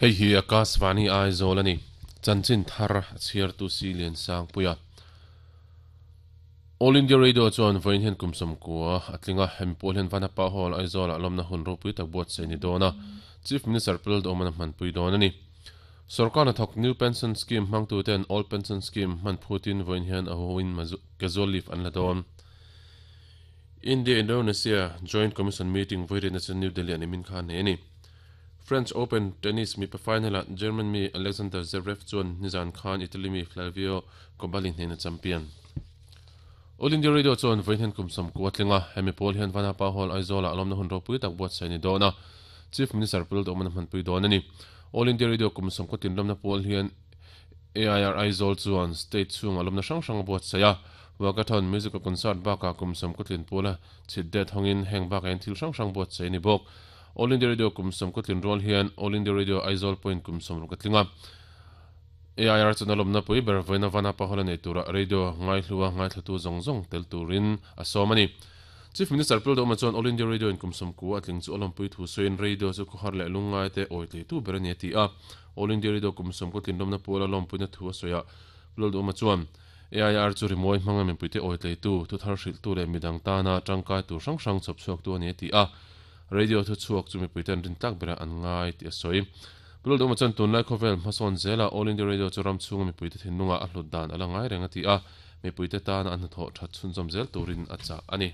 Hei hi Akashvani Aizawl a ni. Chanchin thar a chhiartu si Liansangpuia. All India Radio chuan vawiin hian kum 90 a tling a, hemi pawl hian Vanapa Hall, Aizawlah lawmna hun ropui tak buatsaih a ni dawn a, Chief Minister Pu Lalduhawman a hmanpui dawn a ni. Sorkar hnathawk New Pension Scheme hmangtuten Old Pension Scheme hman phutin vawiin hian a huhoin casual leave an la dawn. India-Indonesia Joint Commission meeting vawirinna chu New Delhi-ah nimin khan nei a ni. French Open tennis mipa final-ah German mi Alexander Zverev chuan nizan khan Italy mi Flavio Cobolli hnena champion. All India Radio chuan vawiin hian kum 90 a tling a, hemi pawl hian Vanapa Hall, Aizawl-ah lawmna hun ropui tak buatsaih a ni dawn a, Chief Minister Pu Lalduhawman a hmanpui dawn a ni. All India Radio kum 90 tinlawmna pawl hian AIR Aizawl chuan state chhungah lawmna hrang hrang a buatsaih a, Walkathon, Musical Concert bakah kum 90 tlin pawla chhit det hawngin heng bakah hian thil hrang hrang buatsaih a ni bawk. All India Radio kum 90 tlin rual hian All India Radio Aizawl pawhin kum 60 a tling a. AIR chuan a lawmna pui ber vawiina Vanapa Hall a nei tura radio ngaihlua ngaithlatu zawng zawng tel turin a sawm a ni. Chief Minister Pu Lalduhoma chuan All India Radio in kum 90 a tling chu a lawmpui thu sawiin radio chu khawhar leh lungngaite awi tleitu ber a ni a ti a. All India Radio kum 90 tlin lawmna puala lawmpuina thu a sawi a, Pu Lalduhoma chuan AIR chu rimawi hmanga mipuite awi tleitu, thuthar hrilhtu leh midang tana tangkai tur hrang hrang chhawp chhuaktu a ni a ti a. Radio thuchhuak chu mipuite an rin tlak berah an ngai tih a sawi. Pu Lalduhoma chuan tunlai khawvel hmasawn zela All India Radio chu ram chhunga mipuite thinlungah a hlut dan a la ngai reng a ti a, mipuite tana an hnathawh that chhunzawm zel turin a chah a ni.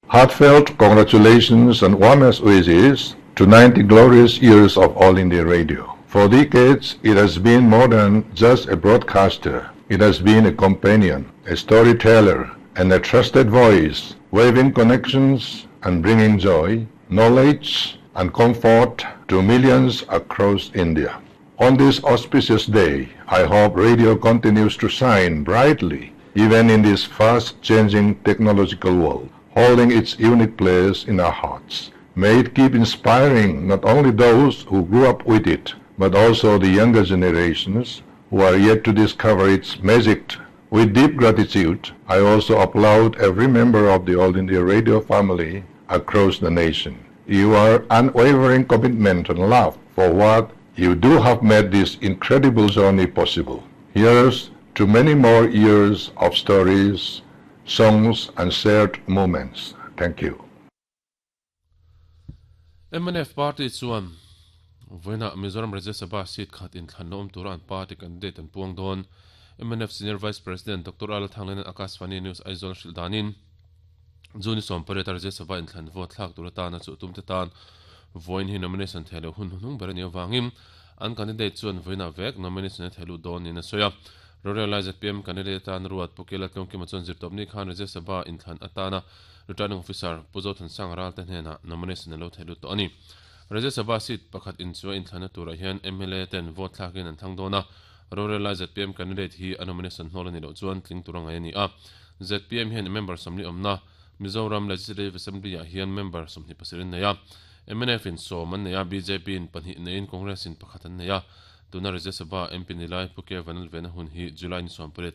Heartfelt congratulations and warmest wishes to 90 glorious years of All India Radio. For decades, it has been more than just a broadcaster. It has been a companion, a storyteller, and a trusted voice, waving connections and bringing joy, knowledge, and comfort to millions across India. On this auspicious day, I hope radio continues to shine brightly, even in this fast-changing technological world, holding its unique place in our hearts. May it keep inspiring not only those who grew up with it, but also the younger generations who are yet to discover its magic. With deep gratitude, I also applaud every member of the All India Radio family across the nation. Your unwavering commitment and love for what you do have made this incredible journey possible. Here's to many more years of stories, songs, and shared moments. Thank you. Mnf party chuan vawiinah Mizoram Rajya Sabha seat khat inthlanna awm tura an party candidate an puang dawn. Mnf Senior Vice President Doctor Ala Thanglena'n Akashvani News Aizawl a hrilh danin June 18 a Rajya Sabha inthlan vote thlak tur atana chuh tumte tan vawiin hi nomination theh loh hun hnuhnung ber a nih avangin an candidate chuan vawiinah vek nomination a theh lut dawn niin a sawi a. Rorel lai zpm candidate atan ruat Pu Kela Tlungkima chuan zirtawpni khan Rajya Sabha inthlan atana Returning Officer Pu Zothansanga Ralte hnenah nomination a lo theh lut tawh a ni. Rajya Sabha seat pakhat inchua inthlanna turah hian mla ten vote thlakin an thlang dawn a, rorel lai zpm candidate hi a nomination hnawl a nih loh chuan tling tur a ngai a ni a. Zpm hian member 40 awmna Mizoram Legislative Assembly ah hian member 27 an nei a, mnf in 10 an nei a, bjp in pahnih neiin Congress in pakhat an nei a. Tuna Rajya Sabha MP ni lai Pu K Vanlalvena hun hi July ni 18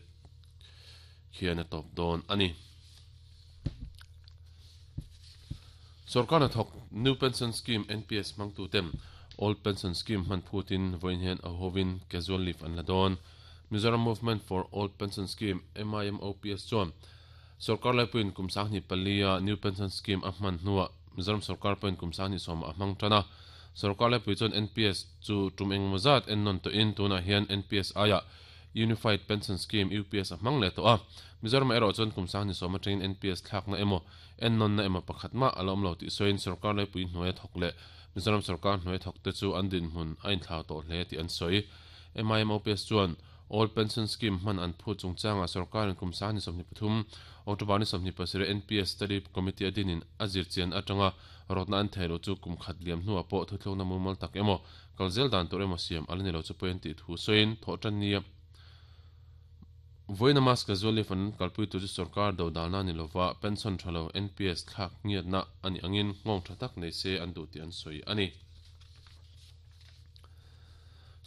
khian a tawp dawn a ni. Sorkar hnathawk New Pension Scheme, NPS, hmangtuten Old Pension Scheme hman phutin vawiin hian a hovin casual leave an la dawn. Mizoram Movement for Old Pension Scheme, MIMOPS, chuan sorkar laipuiin kum 24 a New Pension Scheme a hman hnuah Mizoram sorkar pawhin kum 29 ah a hmang tan a. Sorkar laipui chuan NPS chu tum engemaw zat ennawn tawhin tunah hian NPS aiah Unified Pension Scheme, UPS, a hmang leh tawh a. Mizoramah erawh chuan kum 29 atangin NPS thlakna emaw, ennawnna emaw pakhat mah a la awm lo tih sawiin sorkar laipui hnuaia thawk leh Mizoram sorkar hnuaia thawk te chu an dinhmun a inthlau tawh hle tih an sawi. MIMOPS chuan Old Pension Scheme hman an phut chungchangah sorkarin kum 23, October ni 27 NPS Study Committee a dinin a zirchian atanga rawtna an thei lo chu kum khat liam hnuah pawh thuthlukna mumal tak emaw kal zel dan tur emaw siam a la ni lo chu pawi an tih thu sawiin thawhtan nia vawiina mask casual leave an kalpui tur chu sorkar do dalna ni lova pension tha lo NPS thlak ngiatna a nih angin nghawng tha tak nei se an duh tih an sawi a ni.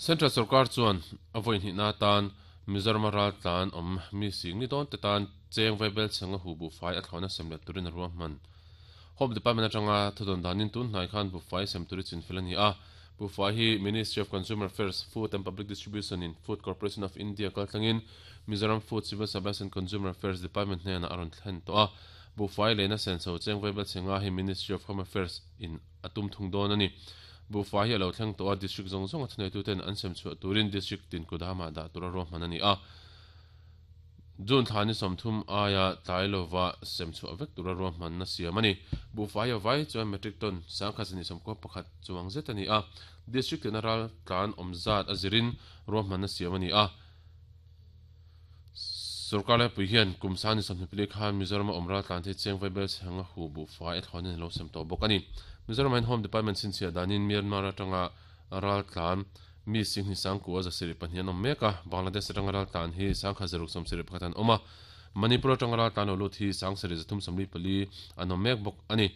Central sorkar chuan a vawi hnihna atan Mizoram-a raltlan awm mi sing ni dawn te tan cheng vaibel chhenga hu buhfai a thlawhna sem let turin a ruahman. Home Department atanga thudawn danin tun hnai khan buhfai sem tur i chinfel a ni a. Buhfai hi Ministry of Consumer Affairs, Food and Public Distribution in Food Corporation of India kaltlangin Mizoram Food, Civil Supplies and Consumer Affairs Department hnenah a rawn thlen tawh a. Buhfai lehna senso cheng vaibel chhe nga hi Ministry of Home Affairs in a tum thung dawn a ni. Buhfai hi a lo thleng tawh a, District zawng zawnga thuneituten an sem chhuah turin District tin kudamah dah tura ruahman a ni a. June thla ni 30 aia tlai lova sem chhuah vek tura ruahmanna siam a ni. Buhfai a vai chuan metric ton 1021 chuang zet a ni a, District tina ral tlan awm zat a zirin ruahmanna siam a ni a. Sorkar laipui hian kum sang ni 24 khan Mizoram a awm ral tlan thei cheng vaibel chheng a hu buhfai a thlawnin a lo sem tawh bawk a ni. Mizoram ah hian Home Department chhinchhiah danin Myanmar atanga ral tlan Mi Singhni Sangkua 72 an awm mek a, Bangladesh atanga raltlan hi 1071 an awm a, Manipur atanga raltlan lo lut hi 7344 an awm mek bawk a ni.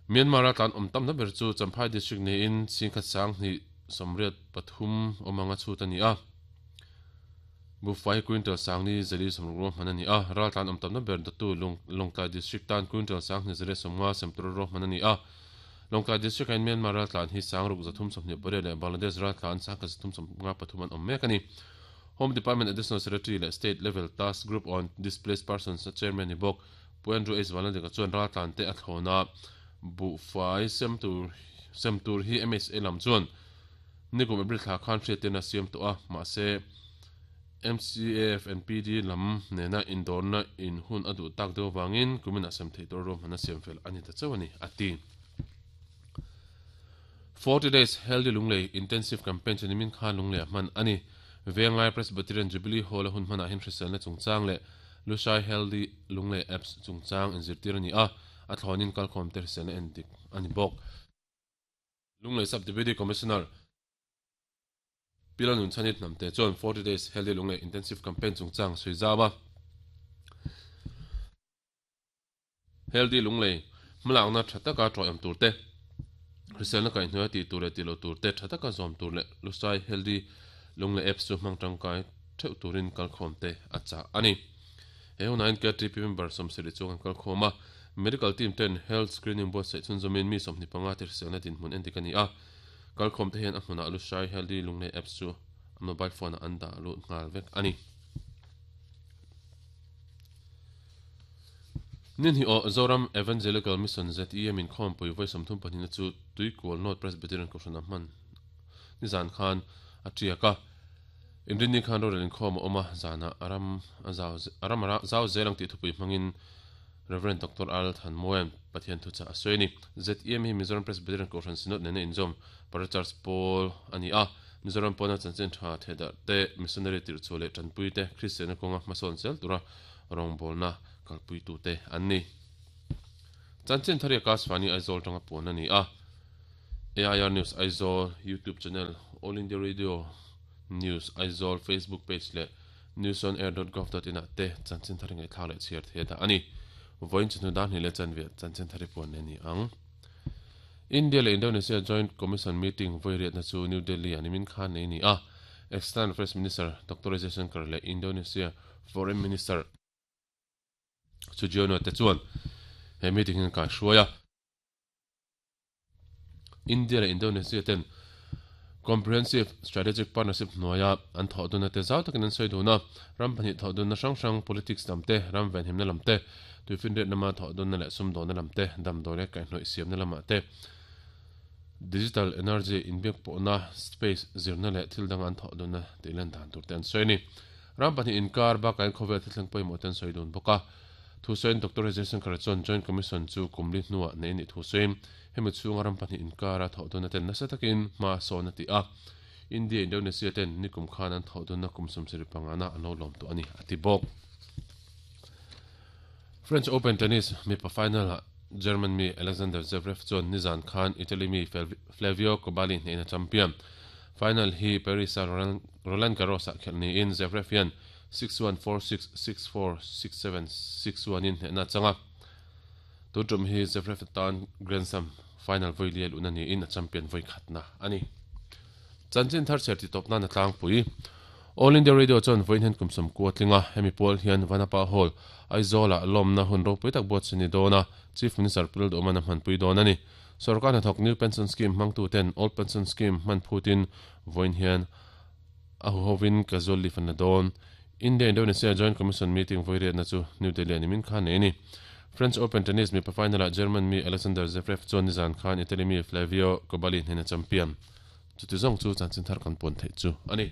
Myanmar raltlan awm tamna ber chu Champhai District niin 10,283 awm anga chhut a ni a, Buhfai quintal 4,460 ruahman a ni a, raltlan awm tamna ber dawttu Lawngtlai District tan quintal 2,150 sem tura ruahman a ni a. Lawngtlai District-ah hian Myanmar raltlan hi 6,328 leh Bangladesh raltlan 1,353 an awm mek a ni. Home Department Additional Secretary leh State Level Task Group on Displaced Persons-a Chairman ni bawk Pu Andrew H. Vanlaldenga chuan raltlan te a thlawn a, buhfai sem tur sem tur hi MHA lam chuan nikum April thla khan hriattirna a siam tawh a, mahse MCAF and PD lam nena indawrna in hun a duh tak deuh avangin kuminah sem theih tur ruahmanna siam fel a ni ta chauh a ni, a ti. 40 Days Healthy Lunglei Intensive Campaign chu nimin khan Lunglei ah hman a ni. Venglai Presbyterian Jubilee Hall a hun hmanah hian hriselna chungchang leh Lushai Healthy Lunglei Apps chungchang inzirtir a ni a, a thlawnin kalkhawm te hriselna endik a ni bawk. Lunglei Sub Deputy Commissioner Pila Nunchhanit Hnamte chuan 40 Days Healthy Lunglei Intensive Campaign chungchang sawi zau a. Healthy Lunglei hmalakna tha taka tawih tur te, hriselna kaihhnuaia tih tur leh tih loh tur te tha taka zawm tur leh Lusai Healthy Lunglei Apps chu hmang tangkai theuh turin kalkhawm te a chah a ni. He hunah hian KTP member 70 chuang an kalkhawm a, Medical team ten Health Screening buatsaih chhunzawmin mi 25 te hriselna dinhmun endik a ni a. Kalkhawm te hian a hmunah Lushai Healthy Lunglei Apps chu a mobile phone ah an dah lut nghal vek a ni. Ninhi aw Zoram Evangelical Mission ZEM inkhawmpui vawi 32 na chu Tuikual North Presbyterian Kohhran ah hman nizan khan a tiak a. Inrinni khan rorel inkhawm a awm a, zanah a ram a zau a ram a zau zel ang tih thupui hmangin Rev. Doctor Al Thanmoen Pathian thuchah a sawi a ni. ZEM hi Mizoram Presbyterian Kohhran Synod nena inzawm Parachurch pawl a ni a, Mizoram pawna chanchin tha thehdarh te, missionary tirhchhuah leh tanpui te, Kristianna kawnga hmasawn zel tura rawngbawlna kalpuitute an ni. Chanchin thar hi Akashvani Aizawl tanga puan a ni a. AIR News Aizawl YouTube channel, All India Radio News Aizawl Facebook page leh newsonair.gov.in ah te chanchin thar ngaihthlak leh chhiar thei a dah a ni. Vawiin chawhnu dar hnih leh chanve chanchin thar hi puan leh a ni ang. India leh Indonesia Joint Commission meeting vawi riatna chu New Delhi ah nimin khan nei a ni a. External Affairs Minister Doctor Jaishankar leh Indonesia Foreign Minister Sugiono te chuan he meeting hi an kaihruai a. India leh Indonesia ten Comprehensive Strategic Partnership hnuaia an thawh dunna te zau takin an sawi dun a, ram pahnih thawh dunna hrang hrang politics lam te, ram venhimna lam te, tuifinriat lama thawh dunna leh sumdawnna lam te, damdawi leh kaihhnawih siamna lamah te, digital energy inbiak pawhna, space zirna leh thil danga an thawh dunna tih lan dan tur te an sawi a ni. Ram pahnih inkar bakah khawvel thilthleng pawimawh te an sawi dun bawk a. Thusawiin Doctor Jaishankar chuan Joint Commission chu kum li hnuah neih a nih thusawiin hemi chhunga ram pahnih inkara thawh dunna ten nasa takin hma a sawn a ti a. India Indonesia ten nikum khan an thawh dunna kum 75 na an lo lawm tawh a ni, a ti bawk. French Open tennis mipa final-ah German mi Alexander Zverev chuan nizan khan Italy mi Flavio Cobolli hnehin a champion. Final hi Paris-a Roland Garros-ah khelh niin Zverev hian 6-1, 4-6, 6-4, 6-7, 6-1 in hnehna a chang a. Tun tum hi Zverev tan Grand Slam final vawi li a luhna niin a champion vawi khatna a ni. Chanchin thar chher titawp nan a tlangpui. All India Radio chuan vawiin hian kum 90 a tling a, hemi pual hian Vanapa Hall, Aizawl-ah lawmna hun ropui tak buatsaih ni dawn a, Chief Minister Pu Lalduhman a hmanpui dawn a ni. Sorkar hnathawk New Pension Scheme hmangtuten Old Pension Scheme hman phutin vawiin hian a huhovin casual leave an la dawn. India-Indonesia Joint Commission meeting vawiriatna chu New Delhi-ah nimin khan nei a ni. French Open tennis mipa final-ah German mi Alexander Zverev chuan nizan khan Italy mi Flavio Cobolli hnena champion. Chuti zawng chu chanchin thar kan puan theih chu a ni.